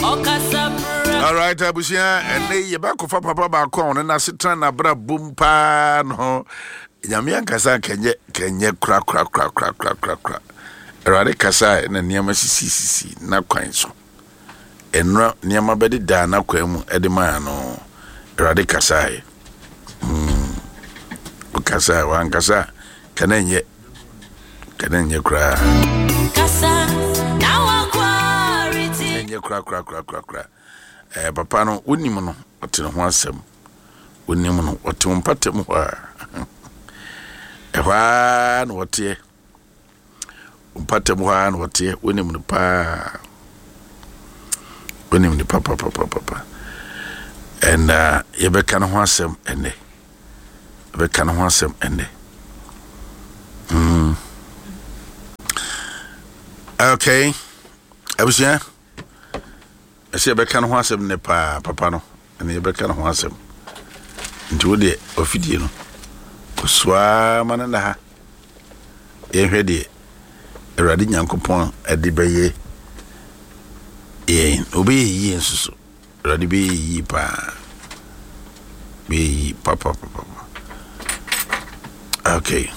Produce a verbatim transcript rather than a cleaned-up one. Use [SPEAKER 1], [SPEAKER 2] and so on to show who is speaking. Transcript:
[SPEAKER 1] Alright, abusua, ɛnɛ yi yɛbɛakɔfa papa baako a ɔno n'asetena n'abrabɔ mu paa no. Nyame ankasa kɛnyɛ kɛnyɛ kora kora kora kora kora kora kora. Awurade kasa a na nneɛma sisisisi n'akwan so. Ɛnora nneɛma bɛdedaa n'akwan mu ɛde maa no. Awurade kasaeɛ. Mm. Ɔkasaeɛ, wankasa a kɛnɛ nyɛ kɛnɛ nyɛ koraa.
[SPEAKER 2] Kasa na wakwari.
[SPEAKER 1] Ɛnyɛ koraa koraa koraa koraa koraa. Ɛɛ papa no, wonim no, ɔte ne ho asɛm. Wonim no, ɔte wo mpatam hɔ a. Ɛhɔ ara na ɔteɛ. Mpatam hɔ ara na ɔteɛ. Wonim no paa. Wonim no papapapapa. Ɛna yɛbɛka ne ho asɛm ɛnɛ. Yɛbɛka ne ho asɛm ɛnɛ. Mm. Okay. Abusua. Ɛsɛ yɛbɛka ne ho asɛm nnɛ paa, papa no. Ɛna yɛbɛka ne ho asɛm. Nti wo deɛ, wafidie no, kɔsoaa ma no nna ha. Yɛnhwɛ deɛ Awurade Nyankopɔn de bɛyɛ yɛn. Ɔbɛyɛ yie nso so. Awurade bɛyɛ yie paa. Bɛyɛ yie papapapa. Okay.